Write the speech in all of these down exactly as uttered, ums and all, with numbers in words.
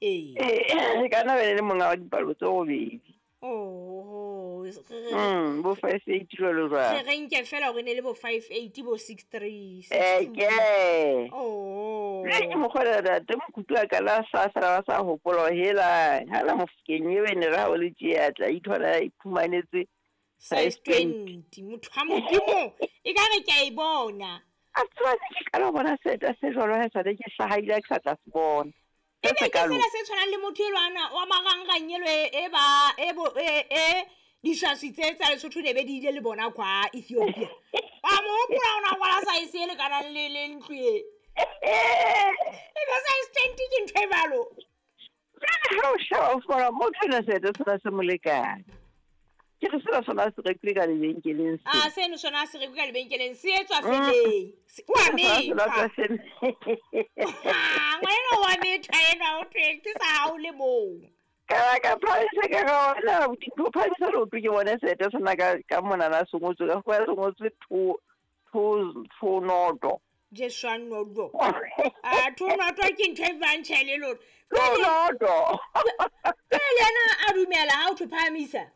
Ee. Ee, ka nna be le monga wa dipalo tse robedi. Oh, Mm, bo five eight jwalo jwalo. Re re nke fela hore ne le bo five eight bo six three. Eh, ke. Oh. Le ke mokgwa ntate Mokutu a ka la sa sala ba sa hopola hore hela ha la Mofokeng eo e ne re ha o le tje a tla ithola a iphumanetse Size size twenty. twenty. Motho wa Modimo e ka re ke a e bona. A tseba ne ke qala ho bona seeta se jwalo ha esale ke hlaha ebile ha ke sa tla se bona. E Se be ke sekalo. sena se tshwanang le motho elwana wa marangrang elo e, e ba e bo e e diswaswi tse tsa Lesotho ne be di ile le bona kwa Ethiopia. Wa mo hopola ona kwala size e lekanang le le ntlo e. E be size twenty ke ntho e jwalo. Jwale ha o sheba o fumana motho enwa seeta sena se mo lekane. Ke re sena sona se rekilwe ka lebenkeleng se. Ah, seno sona se rekwe ka lebenkeleng se etswa Mm. feleng. Se- Wa Sona se methwa. tswa fele. Ah, ngwanenwa wa methwa enwa ho thwe ke sa hao le mong. Ka ka phamisa ka ka bona abuti, ho phamisa leoto ke bone seeta sena ka ka monana se ngotswe ka fumana se ngotswe two two two noto. Jesu a noto. Ah, two noto ke ntho e bang tjhe le lona. Two Jwale noto. jwale le yena a dumela ha o thwe phahamisa.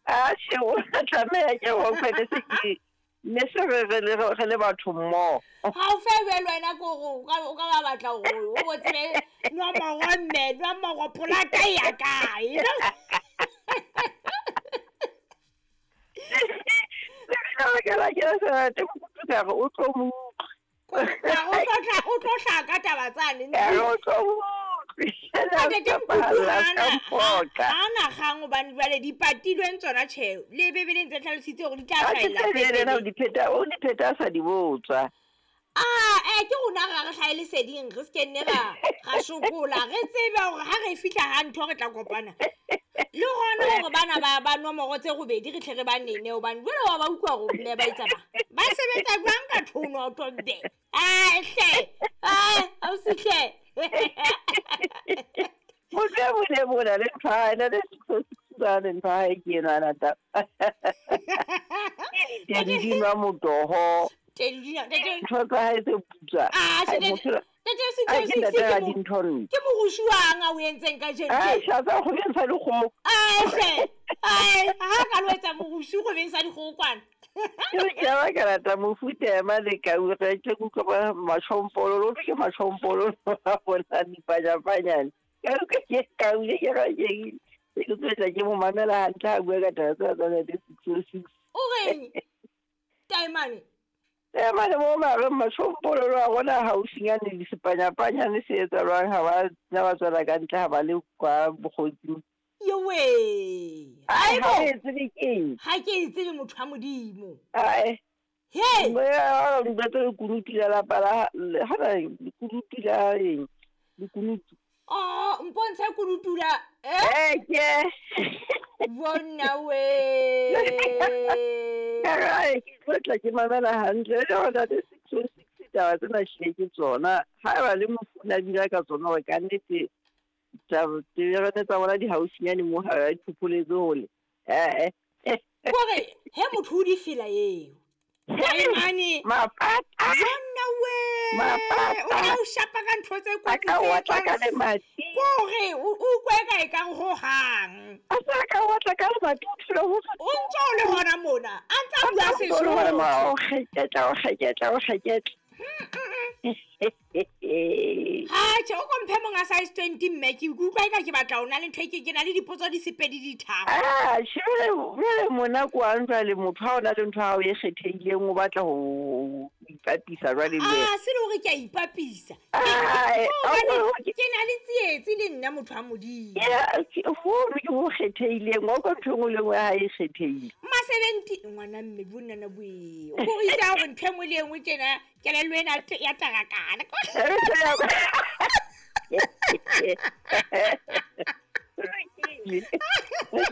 Ah, tjhe, o tla tlameha ke hore ne se ke ne se re re le re le batho mmoho. Ha o fe jwale wena ke hore o ka o ka ba batla hore o bo tsebe nomoro mme, nomoro polaka e ya kae. Ka baka la ke sa te Mokutu ka re o tlo mo utlwa. Ka re o tlo tla o tlo hlaka taba tsane. Ka re o tlo mo utlwe. Ntate Mokutu Ka ha ana mphoqa. ha ana kgang hobane jwale di patilweng tsona tjhe. Le Bebeleng tse hlalositse hore di tla Ha ke hlahella tsebe le yena o pepeneng. di pheta, o di pheta a sa di botswa. Ah, eh ke rona ra re hlahe leseding re se ke nne ra ra sokola re tsebe hore ha re fihla ha ntho re tla kopana. Le hona hore bana ba ba nomoro tse robedi re tle re ba nene hobane jwale wa ba utlwa hore mme ba etsa ba. Ba sebetsa jwang ka two noto mme? Ah, hle. Ah, ausi hle. Motho e mong le mong o na le ntho ya hae, na le six oh six jwale ntho ya hae ke enwana ta. Tedu di nwa motoho. Tedu di nwa Ntho tsa hae tse putswa. Ah, Ai, tjhe, motho enwa- Ntate Ai, Six ke oh six ntate ke wa mo dintho nna. ke morusu wang a o entseng kajeno Ah, tje? tjhatsa kgobeng sa dikgoho. Ah, hle. Ai, ha ka lo etsa morusu kgobeng sa dikgoho kwana. Ke re ke a ba ka rata mofuta ema le kau, re tle ke utlwe ba matjhompololo, ho thwe ke matjhompololo a bona dipanyapanyane. Ka utlwa ke kau e ke re ke ke tlo tla ke mo mamela hantle ha a bua ka taba tsena tsa ntate six oh six. O reng? Taemane. Taemane mo mahareng matjhompololo a rona haufinyane le sepanyapanyane se etsahalang ha ba nna ba tswela ka ntle ha ba le kwa bokgotsing. Yowe. Ai, Aibo. ha o e tsebe keng? Ha ke e tsebe motho wa Modimo. Ae. He. Moya wa ntate lekunutu la lapa la ha na lekunutu la eng? Lekunutu. Oh, mpontshe kunutu la eh? Eh, ke. Bona we. Ka re, ke tlo tla ke mamela hantle. Le hore ntate six oh six taba tsena hlile ke tsona. Haeba le mofu a bina ka tsona hore kannete taba tsa bona di haufinyane mo ha di phopholetse hole. Eh, eh. Kore he motho o di fela eo. Taemane. Mapata. Bona we. Mapata. O tla o shapa ka ntho tse A kotsi ka tse otla ka tswang lemati. Kore o utlwe ka e kang hohang. A sa ka otla ka lemati, o thole ho tswa. O ntso o le hona mona, a ntsa A bua ntse o le hona mona, Sesotho. o kgeketla, o kgeketla, o kgeketla. Ha tjhe, o ko mphe monga size twenty mme ke utlwa eka ke batla ho na le ntho e ke ke na le dipotso di sepedi di tharo. Ah, tjhe, jwale jwale mona kwang jwale motho ha o na le ntho ya hao e kgethehileng o batla ho ipapisa jwale le wena. Ah, se le hore ke a ipapisa. Ah, Ke eh, hobane ha o- ke na le tsietsi le nna motho wa Modimo. Ya, ke hono ke ho kgethehileng, wa utlwa ntho e nngwe le e nngwe ya hae e kgethehile. Ma seventy ngwana mme bonnana boe. O ko re itse hore ntho e nngwe le e nngwe tjena kelello ena ya tarakana. Lokile.